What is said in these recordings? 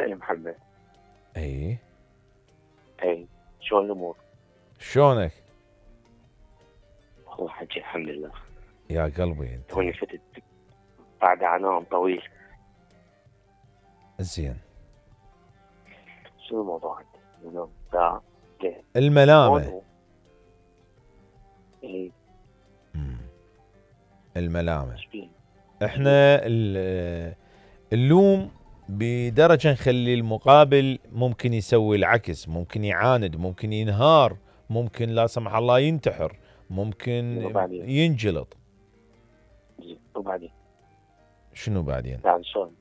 يا محمد. اي اي شلون الامور؟ شلونك والله حجي الحمد لله. يا قلبي انت؟ توني فتت بعد عناء طويل. زين. شنو الموضوع عندك اليوم ساعة؟ الملامة. اي الملامة. شبيه؟ احنا اللوم بدرجة نخلي المقابل ممكن يسوي العكس، ممكن يعاند، ممكن ينهار، ممكن لا سمح الله ينتحر، ممكن وبعدين؟ ينجلط. وبعدين؟ شنو بعدين؟ يعني شلون؟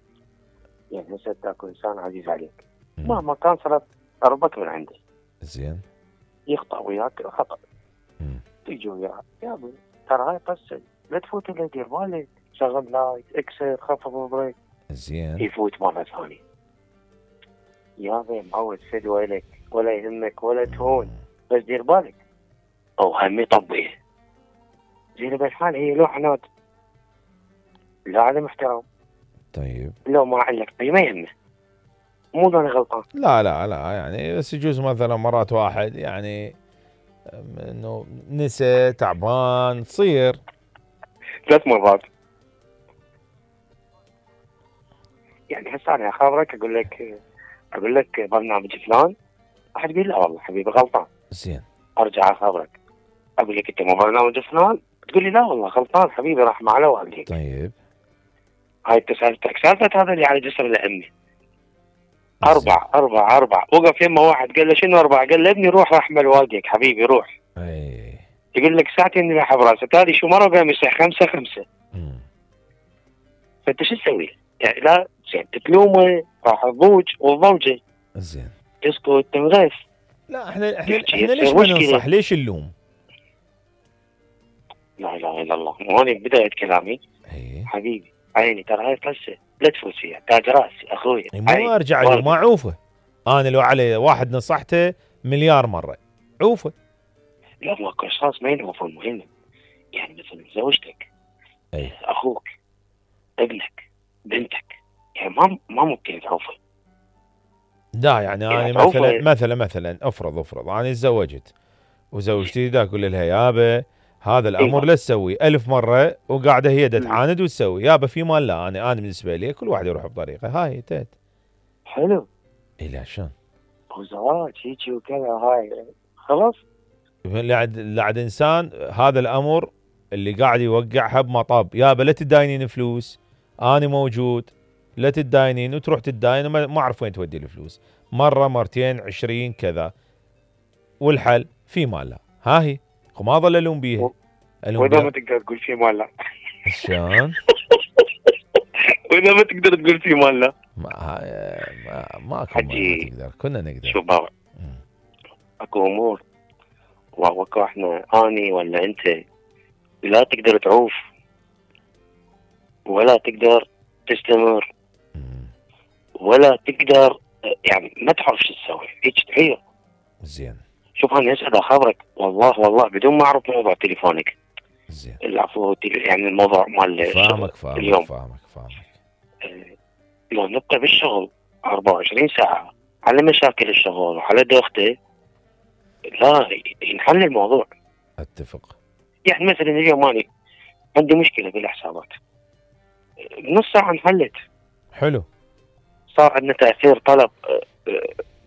يعني هسه تاكل انسان عزيز عليك مهما كان صارت قربك من عنده. زين. يخطأ وياك خطأ. تيجي وياه يا ابوي ترى هاي قصة، لا تفوت الا دير بالك، شغل لايت، اكسر، خفض البريك. زين. يفوت مرة ثانية يا ابوي معود فدوى لك ولا يهمك ولا تهون، بس دير بالك او هم يطبيه. زين بالحال هي لو عناد، لا عدم احترام، طيب لو ما علق ما يهمه، مو انا غلطان. لا لا لا، يعني بس يجوز مثلا مرات واحد يعني انه نسى تعبان تصير 3 مرات. يعني هسه انا اخابرك اقول لك برنامج فلان، راح تقول لا والله حبيبي غلطان. زين. ارجع اخابرك اقول لك انت مو برنامج فلان، تقول لي لا والله غلطان حبيبي راح مع على والديك. طيب هاي سالفتك سالفه هذا اللي على جسر الامي. أربع وقف يمه واحد قال له شنو 4؟ قال له ابني روح رحمل والديك حبيبي روح. اي يقول لك ساعتين راح براسه هذه شو مره قام يصيح 5. فانت شو تسوي؟ يعني لا زين تلومه راح الضوج والضوجه. زين. تسكت تنغث. لا احنا تحكي ليش تصير ما مشكلة. ننصح؟ ليش اللوم؟ لا اله الا الله. وهذه بدايه كلامي. اي حبيبي عيني ترى هاي قصه لا تفوت فيها، تاج راسي اخوي. مو ارجع له ما عوفه. انا لو علي واحد نصحته مليار مره عوفه. لا ماكو اشخاص ما ينعوفون مهم. يعني مثلا زوجتك، اي اخوك، ابنك، بنتك، يعني ما ممكن تعوفه. لا يعني يعني انا تعوفه. مثلا افرض انا تزوجت وزوجتي دا اقول لها يابا هذا الامر ايوه. لا تسوي 1000 مره، وقاعده هي دا تعاند وتسوي يابا في مال. لا انا بالنسبه لي كل واحد يروح بطريقه هاي انتهت. حلو. اي لا شلون؟ وزواج هيجي وكذا هاي خلاص. لعد انسان هذا الامر اللي قاعد يوقعها بمطب. يابا لا تداينين فلوس، انا موجود، لا تداينين، وتروح تداين ما اعرف وين تودي الفلوس، مره مرتين 20 كذا. والحل في مالها. ها هي ما ظل الوم بيها. الوم واذا ما بيها تقدر تقول في مال لا. شلون؟ واذا ما تقدر تقول في مال لا. ماكو ما حجي تقدر، كنا نقدر. شو بابا، اكو امور واكو احنا اني ولا انت لا تقدر تعوف ولا تقدر تستمر ولا تقدر، يعني ما تعرف شو تسوي هيك تحير. زين. شوف انا هسه اخبرك والله بدون ما اعرف موضوع تليفونك. زين. العفو يعني الموضوع مال فاهمك اليوم. فاهمك. لو نبقى بالشغل 24 ساعة على مشاكل الشغل وعلى دوخته، لا ينحل الموضوع. اتفق. يعني مثلا اليوم أنا عندي مشكلة بالحسابات، بنص ساعة انحلت. حلو. صار عندنا تأثير طلب،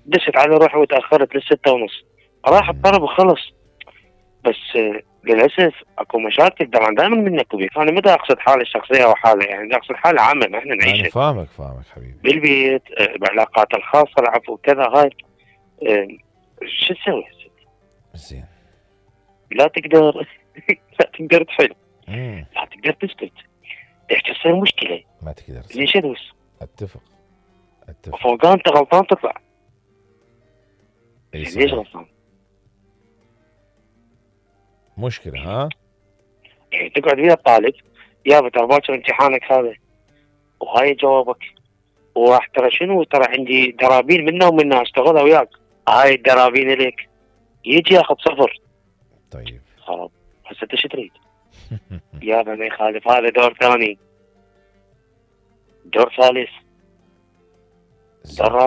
دست على روحي وتأخرت ل6:30، راح الطلب وخلص. بس للأسف اكو مشاكل طبعا دائما منك وبيك. انا متى اقصد حالي الشخصية وحالة، يعني اقصد حالة عامة ما احنا نعيشها. انا فاهمك حبيبي. بالبيت، بعلاقات الخاصة، العفو كذا هاي. شو تسوي؟ زين. لا تقدر لا تقدر تحل، لا تقدر تسكت، تصير مشكلة ما تقدر ليش ادوس. اتفق. فوق انت غلطان تطلع. اي ليش غلطان؟ مشكلة ها؟ يعني تقعد ويا الطالب يابا ترى باكر امتحانك هذا وهاي جوابك، وراح ترى شنو ترى عندي درابين منه ومنه اشتغلها وياك، هاي الدرابين لك، يجي ياخذ 0. طيب خلاص هسه انت شو تريد؟ يابا ما يخالف هذا دور ثاني، دور ثالث. تمام.